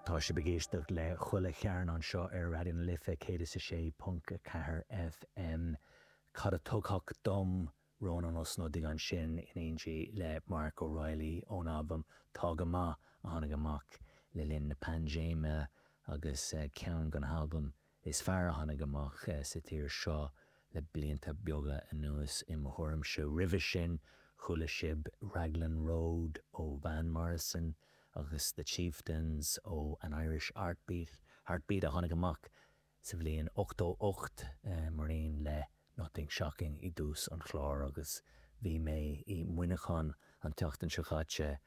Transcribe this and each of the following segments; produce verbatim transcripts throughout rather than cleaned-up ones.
Tá sibh ag éisteacht le Chuile Chearn anseo ar Raidió na Life céad is a sé ponc a ceathair FM. Cad a tuigfeadh dom Rónán Ó Snodaigh ansin in éindí le Mark O'Reilly ón albam Tá Go Maith a tháinig amach le linn na paindéime agus ceann de na halbaim is fearr a tháinig amach sa tír seo le blianta beaga anuas i mo thuairimse. Roimhe sin chuala sibh Raglan Road ó Van Morrison agus The Chieftains ó An Irish Heartbeat, Heartbeat a tháinig amach sa bhliain ochtó ocht mar aon le Nothing Shocking i dtús an chláir agus bhí mé i Muineachán an tseachtain seo caite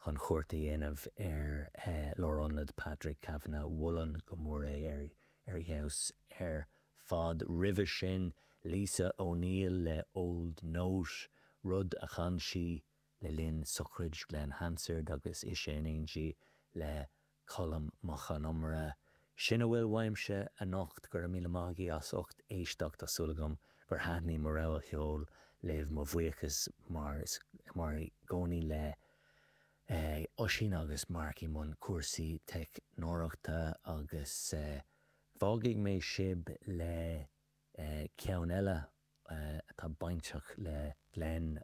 chun cuairt a dhéanamh ar Lárionad Patrick Kavanagh. Mholfainn go mór é ar ar fheabhas ar fad. Roimhe sin Lisa O'Neill le Old Note, rud a chan sí le linn sochraid Glen Hansard agus ise in éindí le Colm Mac Con Iomaire. Sin a bhfuil uaimse anocht go raibh míle maith agaibh as ucht éisteacht tá súil agam gur thaitnigh mo rogha cheoil libh mo bhuíochas mar mar i gcónaí le Oisín agus Mark i mbun cúrsaí teicneoireachta agus fágfaidh mé sibh le ceann eile atá bainteach le Glen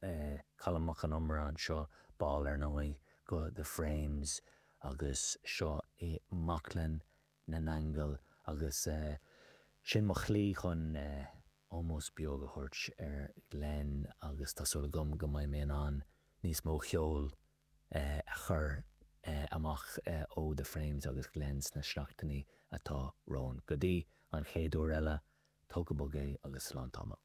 Colm Mac Con Iomaire anseo ball ar ndóigh go The Frames agus seo i mBaclainn na nAingeal agus sin mo shlí chun ómós beag a thabhairt ar Glen agus tá súil agam go mbeidh mé in ann níos mó ceoil a chur amach ó The Frames agus Glen sna seachtainí atá romhainn. Go dtí an chéad uair eile, tóg go bog é agus slán tamall.